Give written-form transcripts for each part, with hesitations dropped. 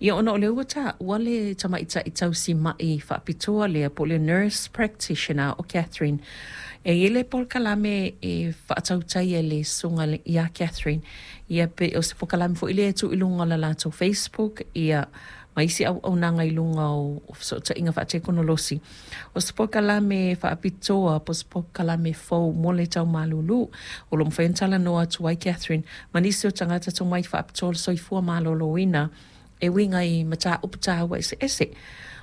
Ia ona o lea ua taua le tamaitai tausima'i faapitoa lea po o le nurse practitioner o Catherine. E i ai le polokalame e faatautai e le susuga ia Catherine, ia pe o se polokalame foi lea e tuu i luga o le latou Facebook ia ma isi auaunaga i luga o fesootaiga faatekonolosi. O se polokalame faapitoa po o se polokalame fou mo le tau malulu o lo o mafai ona talanoa atu ai Catherine ma nisi o tagata tomai faapitoa o le soifua maloloina e uiga i mataupu taua eseese.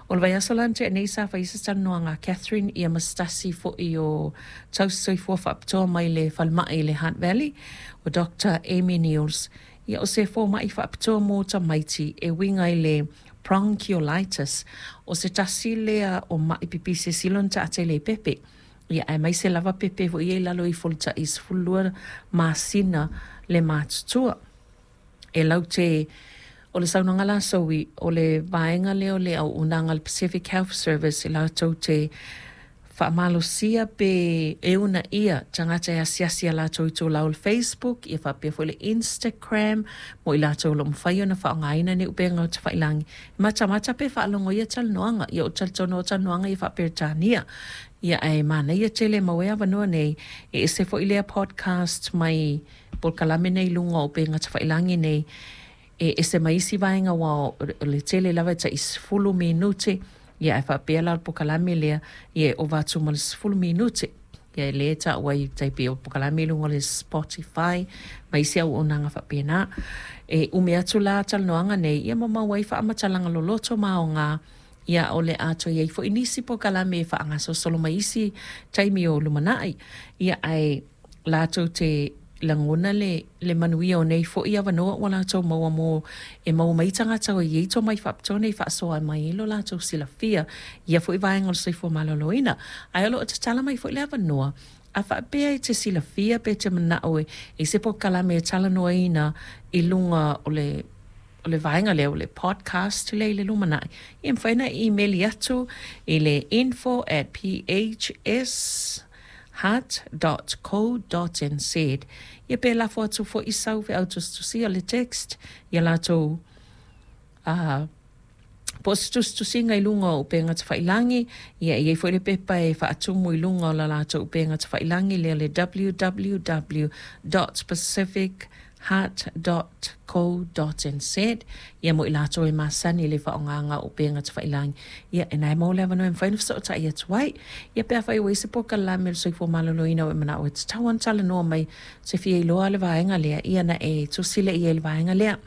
O le vaiaso la na tea nei sa fai ai se talanoaga a Catherine ia ma se tasi foi o tausisoifua faapitoa mai le falemai i le Hutt Valley, o Doctor Amy Neils. Ia o se fomai faapitoa mo tamaiti e uiga i le bronchiolitis. O se tasi lea o ma'i pipisi e sili ona taatele i pepe. Ia aemaise lava pepe foi ia i lalo ifo o le tai 12 masina le matutua. E laute, o le saunoaga la a Zoe, o le vaega lea o le auaunaga a le Pacific Health Service e latou te faamalosia pe e uunaia tagata e asiasi i a latou itulau o le Facebook ia faapea foi le Instagram mo i latou o lo o mafai ona faaaogaina nei upega o tafailagi e matamata pe faalogo i ia talanoaga. Ia ou te talitonu o talanoaga ia faa-Peretania. Ia ae manaia tele maua ai avanoa nei e ese foi lea podcast mai polokalame nei i luga o upega tafailagi nei e ese mai isi vaega aua o le tele lava e tai 10 minute ia ae faapea la o le polokalame lea ia e ova atu ma le 10 minute ia lea e taua ai tai pei o polokalame i luga o le Spotify ma isi auaunaga faapena. E umi atu la talanoaga nei ia ma maua ai faamatalaga loloto ma aoga ia o le a toe i ai foi nisi polokalame e faagasolosolo mai isi taimi o lumanai. Ia ae latou te lagona le le manuia o nei foi avanoa ua latou maua mo e maua mai ai tagata o i ai tomai faapitoa nei e faasoa mai ai lo latou silafia i ia foi vaega o le soifua maloloina. Ae o lo o tatala mai foi le avanoa a faapea e te silafia pe te manao e i se polokalame e talanoaina i luga o le o le vaega lea o le podcast lea i le lumanai, ia e mafai ona e imeli atu i le info at phsheart dot co dot nz. Ia pe lafo atu foi sau feau tusitusia o le text ia latou a po o se tusitusiga i luga o upega tafailagi, ia e i ai foi le pepa e faatumu i luga o la latou upega tafailagi lea le www dot pacific heart dot co dot nz, ia mo i latou e masani i le faaaogaga o upega tafailagi, ia e na e maua le avanoa e mafai ona fesootai atu ai. Ia pe afai ua i ai se polokalame o le soifua maloloina ua e manao e tatau lava ona talanoa mai e te fia iloa le vaega lea, ia ona e tusi lea i ai i le vaega lea.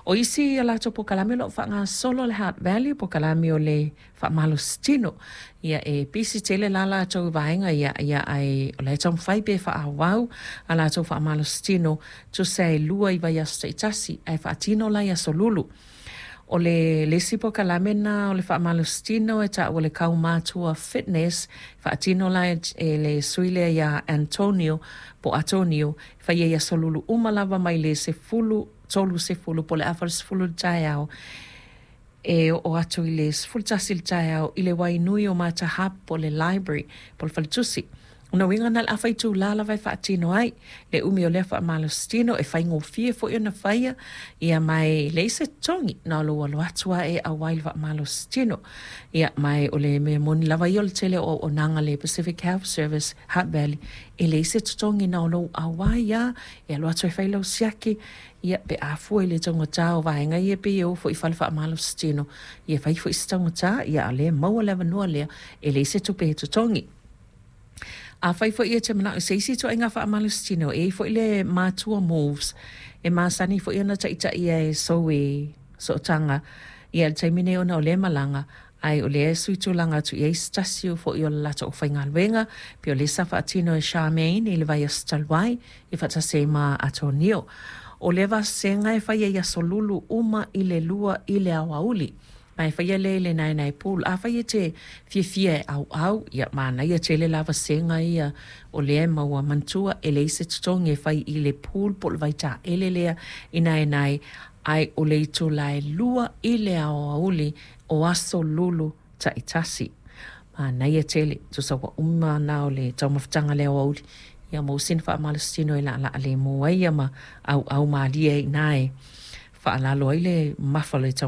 O isi a latou polokalame o lo o faagasolo le Heart Value, polokalame o le faamalositino. Ia e pisi tele la latou i vaega ia, ia ae o la e taumafai pea e faaauau a latou faamalositino, tusa e 2 i vaiaso taitasi, ae faatino la i aso Lulu. O le le isi polokalame lena o le faamalositino e taua o le Kaumatua Fitness, faatino la e le sui lea ia Antonio po o Atonio, e fai ai i aso Lulu uma lava mai le 10 30 po o le afa i le 10 i le taeao e oo atu i le 11 i le taeao i le wainui o Matahap po o le library po o le faletusi. O lona uiga na o le afa itulā lava e faatino ai le umi o lea faamalositino e faigofie foi ona faia ia ma e leai se totogi na o lou alo atu lava e auai i le faamalositino. Ia ma o le mea moni lava ia o le tele o auaunaga a le Pacific Health Service Hutt Valley e leai se totogi na o lou auai lava e alu atu e fai lau siaki Ia, pe a fua i le taugata o vaega ia pei e o foi i fale faamalositino, ia fai foi se taugata, ia a o lea e maua le avanoa lea, e leai se tupe e totogi. Afai foi e te manao i se isi ituaiga faamalositino, e i ai foi le Matua Moves, e masani foi ona taitaia e Zoe Sootaga, ia i le taimi nei ona o lea e malaga, ae o lea e suitulaga atu i ai se tasi foi o le latou aufaigaluega, pei o lea sa faatino e Charmaine i le vaiaso talu ai, e faatasi ai ma Atonio. O lea vasega e faia i aso Lulu uma i le 2 i le aoauli. Ma e faia lea i le Naenae Pool. Afai e te fiafia e ʻauʻau, ia manaia tele la vasega ia o lea e maua. Manatua, e leai se totogi e fai i le pool po o le vaitaele lea i Naenae, ae o le itula e 2 i le aoauli o aso Lulu taitasi. Manaia tele, tusa ua uma na o le taumafataga le aoauli, ia maua sina faamalositino e laalaa lemu ai ia ma ʻauʻau malie ai i ina e faalalo ai le mamafa o le.